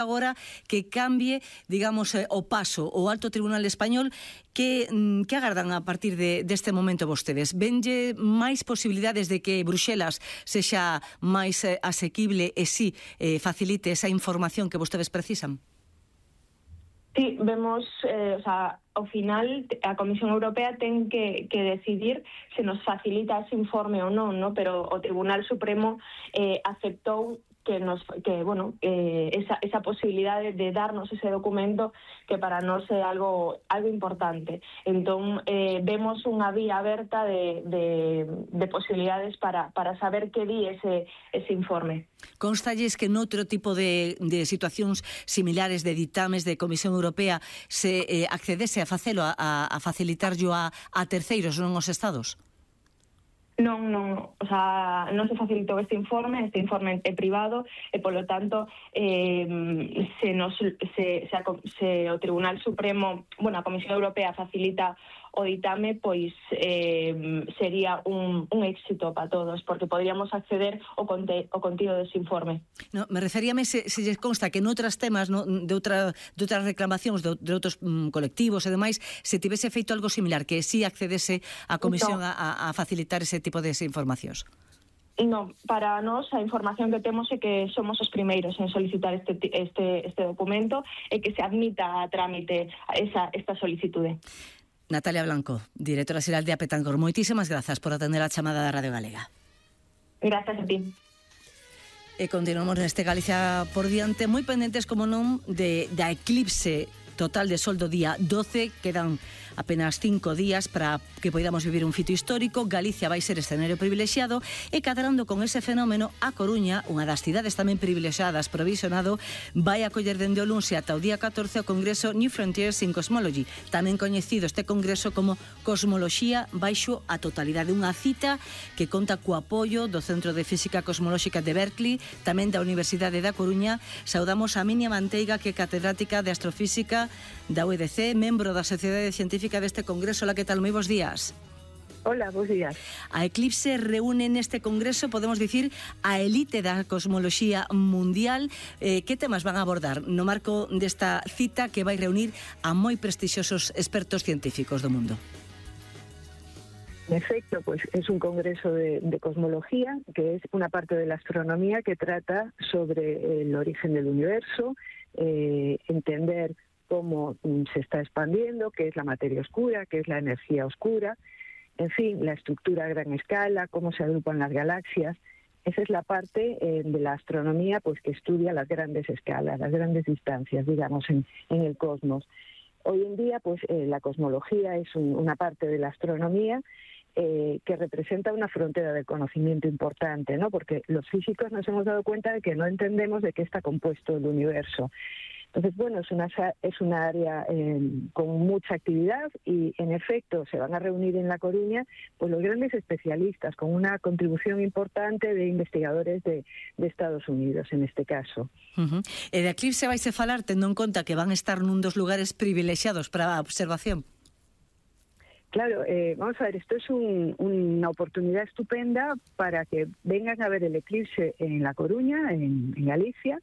agora que cambie, digamos, o paso o Alto Tribunal Español. Que agardan a partir deste momento vostedes? Venlle máis posibilidades de que Bruxelas sexa máis asequible e si facilite esa información que vostedes precisan? Sí, vemos, ao final a Comisión Europea ten que decidir se nos facilita ese informe ou non, ¿no? Pero o Tribunal Supremo aceptou esa posibilidade de darnos ese documento que para nós é algo importante. Entón, vemos unha vía aberta de posibilidades para saber que di ese informe. Constalles que noutro tipo de situacións similares de ditames de Comisión Europea se accedese a facelo, a facilitarlo a terceiros, non aos Estados? Non se facilitou este informe é privado e, polo tanto, se o Tribunal Supremo, a Comisión Europea facilita o ditame, pois sería un éxito para todos, porque podríamos acceder ao contido dese informe. No, me referíame se lles consta que noutras temas, de outras reclamacións de outros colectivos e demais, se tivese feito algo similar, que si accedese a Comisión a facilitar ese tipo de informacións. Non, para nós a información que temos é que somos os primeiros en solicitar este documento e que se admita a trámite esta solicitude. Natalia Blanco, directora xeral de Apetancor, moitísimas grazas por atender a chamada da Radio Galega. Gracias a ti. E continuamos neste Galicia por diante, moi pendentes, como non, da eclipse total de sol do día 12, quedan apenas 5 días para que podamos vivir un fito histórico. Galicia vai ser escenario privilexiado e cadrando con ese fenómeno, a Coruña, unha das cidades tamén privilexiadas provisionado, vai acoller dende o luns ata o día 14 o Congreso New Frontiers in Cosmology, tamén coñecido este congreso como Cosmoloxía baixo a totalidade, unha cita que conta co apoio do Centro de Física Cosmolóxica de Berkeley, tamén da Universidade da Coruña. Saudamos a Minia Manteiga, que é catedrática de Astrofísica da UEDC, membro da Sociedade Científica deste congreso. Hola, que tal? Moi bons días. Hola, bons días. A Eclipse reúne neste congreso, podemos dicir, a elite da cosmoloxía mundial. Que temas van a abordar no marco desta cita que vai reunir a moi prestixiosos expertos científicos do mundo? En efecto, pues es un congreso de cosmología, que es una parte de la astronomía que trata sobre el origen del universo, entender cómo se está expandiendo, qué es la materia oscura, qué es la energía oscura, en fin, la estructura a gran escala, cómo se agrupan las galaxias. Esa es la parte de la astronomía pues que estudia las grandes escalas, las grandes distancias, digamos, en el cosmos. Hoy en día, pues la cosmología es una parte de la astronomía que representa una frontera del conocimiento importante, ¿no? Porque los físicos nos hemos dado cuenta de que no entendemos de qué está compuesto el universo. Entonces, bueno, es una área con mucha actividad y, en efecto, se van a reunir en La Coruña pues los grandes especialistas, con una contribución importante de investigadores de Estados Unidos, en este caso. E de Eclipse vaise falar tendo en conta que van a estar nun dos lugares privilexiados para a observación. Claro, vamos a ver, esto es una oportunidad estupenda para que vengan a ver el eclipse en La Coruña, en Galicia,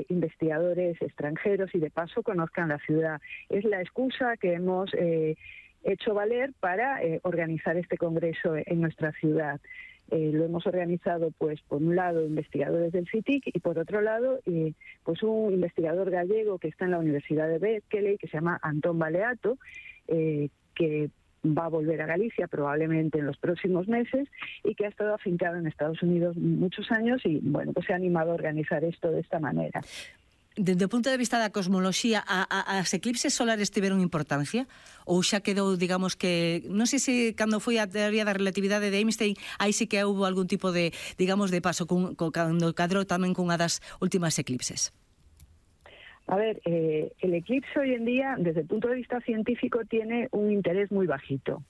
investigadores extranjeros y de paso conozcan la ciudad. Es la excusa que hemos hecho valer para organizar este congreso en nuestra ciudad. Lo hemos organizado, pues, por un lado, investigadores del CITIC y, por otro lado, pues un investigador gallego que está en la Universidad de Berkeley, que se llama Antón Baleato, que va a volver a Galicia probablemente en los próximos meses y que ha estado afincado en Estados Unidos muchos años y, bueno, pues se ha animado a organizar esto de esta manera. Desde o punto de vista da cosmoloxía, as eclipses solares tiveron importancia? Ou xa quedou, digamos que... Non sei se cando foi a teoría da relatividade de Einstein, aí sí que houve algún tipo de, digamos, de paso cando cadrou tamén cunha das últimas eclipses. A ver, el eclipse hoy en día, desde el punto de vista científico, tiene un interés muy bajito,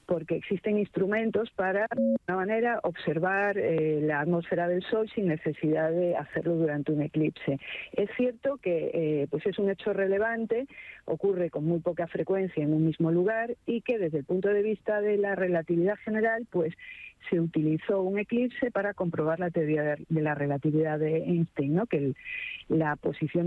porque existen instrumentos para, de alguna manera, observar la atmósfera del Sol sin necesidad de hacerlo durante un eclipse. Es cierto que pues es un hecho relevante, ocurre con muy poca frecuencia en un mismo lugar y que desde el punto de vista de la relatividad general, pues se utilizó un eclipse para comprobar la teoría de la relatividad de Einstein, ¿no? Que la posición